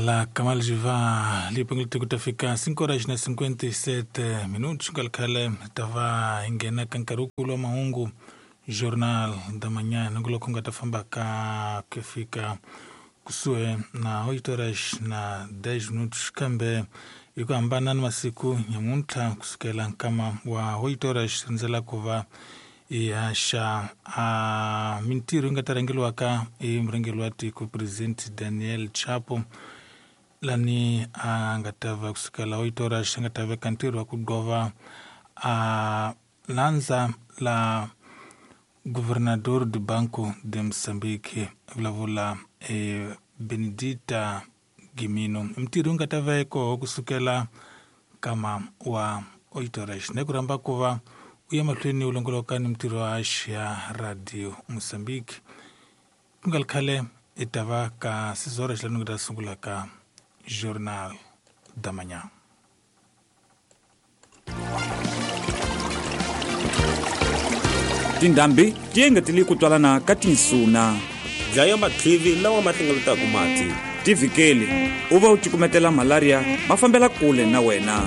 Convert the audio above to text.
La Kamal Jiva lipengele ku ta fika 5 horas na 57 minutos nga khale ta va hi nghena ka nkarhi wukulu wa mahungu Jornal da Manhã nongonoko nga ta famba ka ku fika kusuhi na 8 horas na 10 minutos kambe hi ku hambana ni masiku nyamuntlha kusukela nkama wa 8 horas rindzela ku va hi haxa a mintirho yi nga ta rhangeriwaka hi murhangeri wa tiko President Daniel Chapo lani a nga ta va kusukela 8 horas a nga ta veka ntirho wa ku gova a landza la Governador do Banco de Moçambique vulavula Benedita Gimino mintirho yi nga ta va koho kusukela nkama wa 8 horas na ku rhamba ku va u ya mahlweni u longoloka ni mintirho ya ya Radio Moçambique ku nga ri khale i ta va ka 6 horas lani nga ta sungula ka Jornal da Manhã. Tindhambi ti engetele ku twalana ka tinsuna. Dlaya matlivi lawa ma hlengeletaka mati. Tivhikeli u va u cukumetela malaria ma fambela kule na wena.